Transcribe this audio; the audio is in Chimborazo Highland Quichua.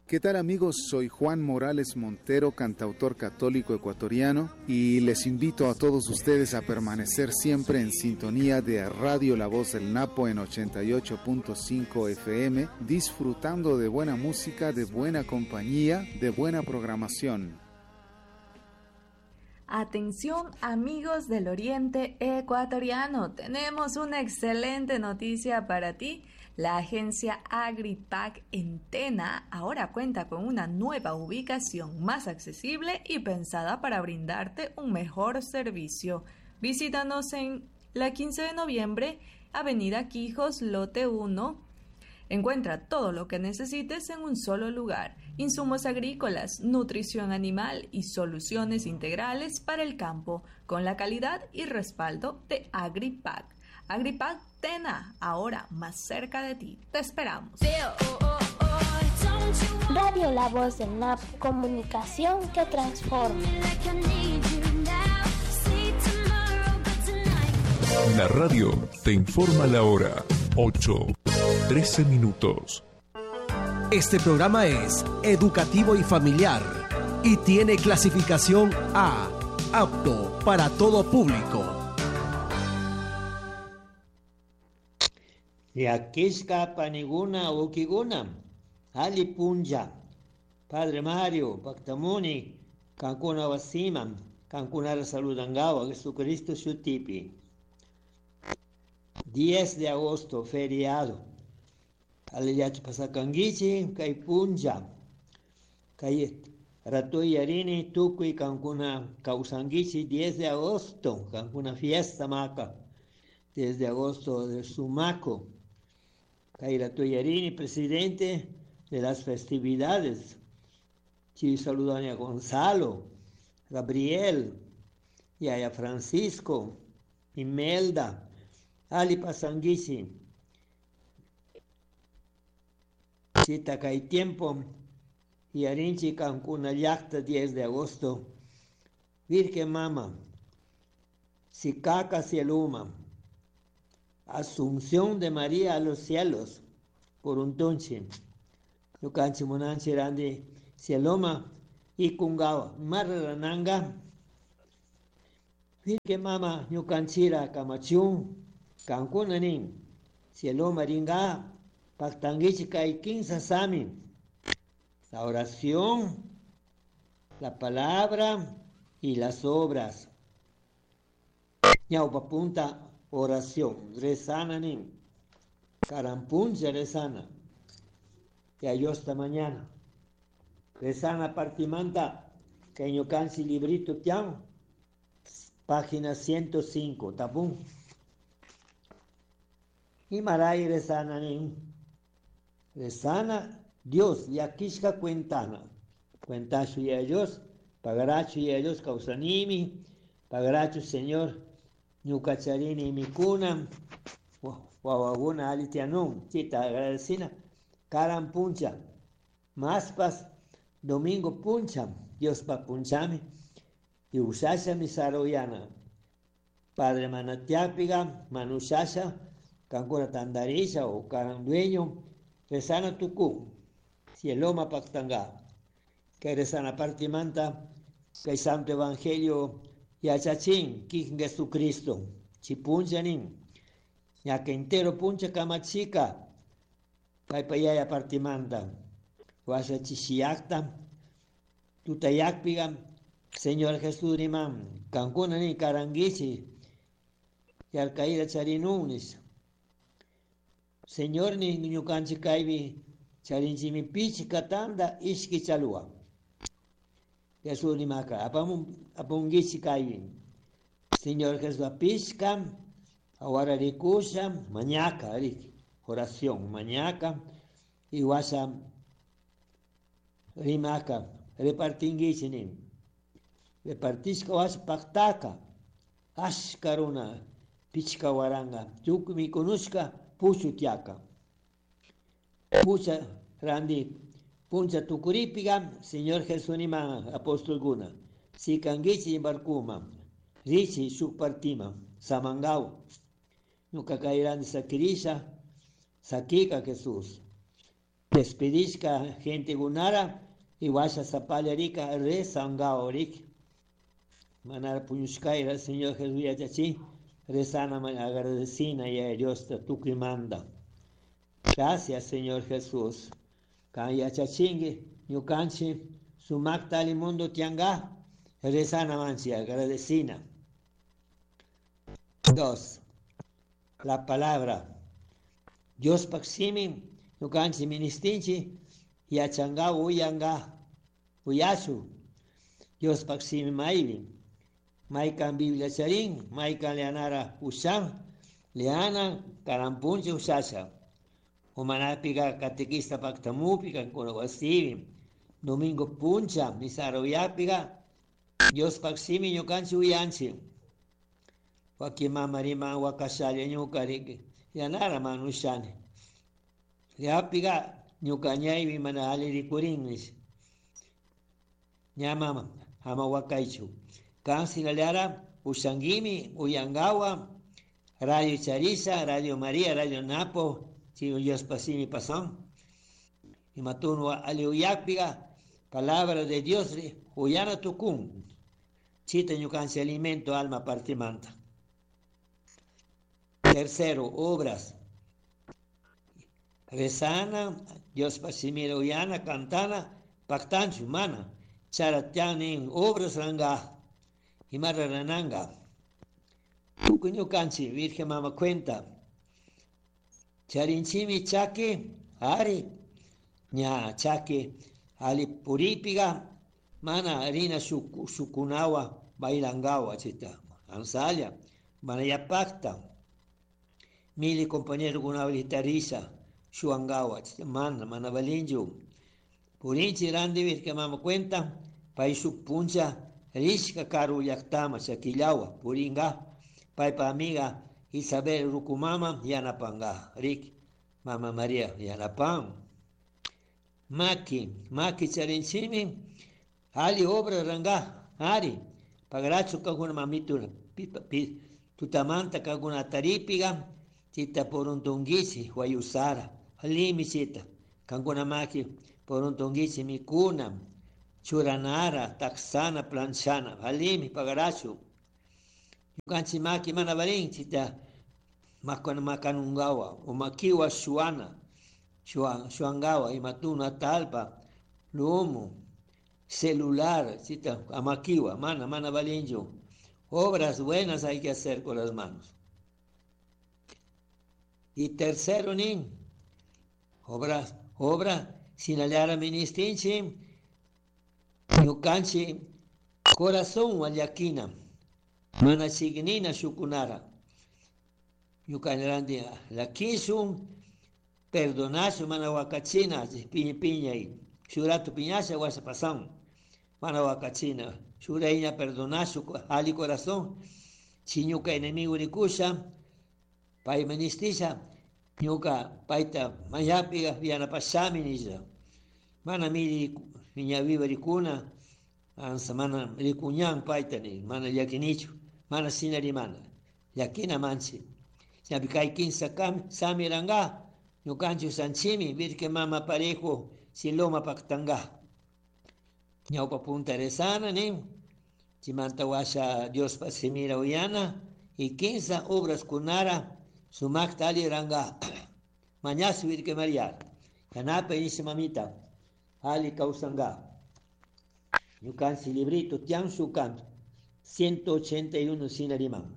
¿Qué tal amigos? Soy Juan Morales Montero, cantautor católico ecuatoriano, y les invito a todos ustedes a permanecer siempre en sintonía de Radio La Voz del Napo en 88.5 FM, disfrutando de buena música, de buena compañía, de buena programación. Atención amigos del Oriente Ecuatoriano, tenemos una excelente noticia para ti. La agencia AgriPac en Tena ahora cuenta con una nueva ubicación más accesible y pensada para brindarte un mejor servicio. Visítanos en la 15 de noviembre, Avenida Quijos, Lote 1. Encuentra todo lo que necesites en un solo lugar. Insumos agrícolas, nutrición animal y soluciones integrales para el campo, con la calidad y respaldo de AgriPac. AgriPac Tena, ahora más cerca de ti. Te esperamos. Radio La Voz del NAP, comunicación que transforma. La radio te informa la hora 8, 13 minutos. Este programa es educativo y familiar y tiene clasificación A, apto para todo público. Llakishka paniguna ukiguna, ali punlla, Padre Mario, Pactamuni, kankuna wasiman, kankunara saludangawa, Jesucristo shutipi. 10 de agosto, feriado. Aliyachu pasakanguichi, kay punlla, kay ratuy yarini tukuy kankuna kawsanguichi, 10 de agosto, kankuna fiesta maca, 10 de agosto de Sumaco. Kay Ratuyarini, presidente de las festividades. Chi saludan a Gonzalo, Gabriel, y a Francisco, Imelda, Ali Pasanguichi. Chita kay tiempo, y Arinchi Cancuna Llacta, 10 de agosto. Virgen Mama, Sicaca Cieluma, Asunción de María a los cielos, por un tonche. Ñukanchi munanchi randi cieloma y kungawa marrananga. Virgen Mama ñukanchira kamachun, kankuna nin, cieloma ringa, pactanguichi kay kinsa sami. La oración, la palabra y las obras. Ñaupa punta oración, rezana nin, carampuncha rezana, que esta mañana. Rezana partimanta, que ñukanchi librito tian, página 105, tapún. Y maray rezana nin, rezana Dios, yakishka cuentana, cuentachu y ellos, pagarachu y ellos causanimi, pagarachu Señor, ñukacharini mikuna, wawaguna alitianun, chita agradecina, karan puncha, maspas, domingo puncha, Dios pa punchami, y usasha mi saroyana, Padre manatiapiga, manushasha, kankuna tandarisha o karan dueño, rezana tuku, cieloma pactanga, que rezana partimanta, que santo evangelio, yachachin, kin Jesucristo, chipunchanin, ya que entero puncha kamachica, payaya partimanta, washa chishiakta, tutayakpiga, Señor Jesús riman, kankuna ni karanguichi, yarkaira charinunis. Señor ni ñukanchi kaypi charinchimi pichi katanda ishki chalua. Jesús rimaka, apunguichi kaypi. Señor Jesús apishka, awara rikusha, mañaka, riki, oración, mañaka, y washa rimaka, repartinguichi nin. Repartishka washa paktaka, ashkaruna, pichka waranga, tukuy mikunushka, puchutiaka. Pucha randi, puncha tukuripiga, Señor Jesús nima apóstol guna, si kangichi barkuma, richi shuk partima, samangau, ñuka kayrandi sakirisha, sakika Jesús. Despedishka gente gunara y washa sapalla rika rezangawa rik. Manara puñushkayra Señor Jesús yachachi rezana agradecina y a Dios tukuy manda. Gracias Señor Jesús. Kan yachachingi ñukanchi sumakta mundo tianga rezana manchi agradecina. 2. La palabra. Dios paksimi ñukanchi ministinchi yachanga uyanga uyasu. Dios paksimi maybi. Maykan Biblia charin, maykan leanara ushan, leana karampunchi ushasha. Umanapiga catequista paktamupiga wasibi. Domingo puncha, misara uyapiga, Dios paksimi ñukanchi uyanchi. Waki mama riman wakashalla ñuka riki, yanara manushani. Yapiga ñuka ñaymi mana ali rikurin nish. Ñama ama wakaychu. Kan sinalara ushanguimi, uyangawa, Radio Charisa, Radio María, Radio Napo, si Dios pasimi pasón. Y matuno ali uyakpiga, palabra de Dios, uyana tukun. Chita ñukanchi alimento alma partimanta. Tercero, obras. Rezana, Dios pasimira uyana, cantana, pactanchu, mana. Charatianin, obras ranga, imarra rananga. Tukuy ñukanchi, Virgen Mama cuenta. Charinchimi chaki, ari, ña chaki, ali puripiga, mana rina shukunawa, bailangawa, chita, ansalla, mana ya pacta. Mili compañero kunawa litarisa, shuangawa, chita, mana, mana balinju. Purinchi randi Virgen Mama cuenta, pay puncha, rishka karu llaktama, chakillawa, puringa, paypa amiga Isabel Rukumama, yanapanga, rik, Mama María, yanapan. Maki, maki charinchimi, ali obra ranga, ari, pagrachu kakuna mamitu, tutamanta kakuna taripiga, chita poruntungichi, huayusara, alimi chita, kankuna maki poruntungichi mikuna, churanara, taxana, planchana, alimi, pagarachu. Ñukanchik maki mana valin chita makanungawa, o makiwa shuana, shuangawa, imatuna talpa, lumo, celular, chita, amakiwa, mana, mana valincho. Obras buenas hay que hacer con las manos. Y tercero, nin, obra, obra, sinallara ministinchi, ñukanchi, corazón llakina, mana chignina shukunara. Ñukanrandi lakishun, perdonashu, mana wakachina, piña piña, shuratu piñasha washa pasan, mana wakachina, shuraiña perdonashu, ali corazón, si ñuka enemigo rikusha, pay ministisha, ñuka payta mayapiga yanapashami nisha. Mana miri miña viva rikuna, ansa mana rikuñan payta ni, mana llakinichu, mana sina rimana, llakina manchi. Ñapi kay kinsa sami ranga, ñukanchik sanchimi, Virgen Mama parejo, siloma paktanga. Ñawpa punta rezana ni, chimanta washa Dios pasimira uyana, y kinsa obras kunara, sumakta ali ranga. Mañasu Virgen María, yanape nisha mamita, ali kausanga. Ñukanchik librito, tian shukan, 181 sinarimán.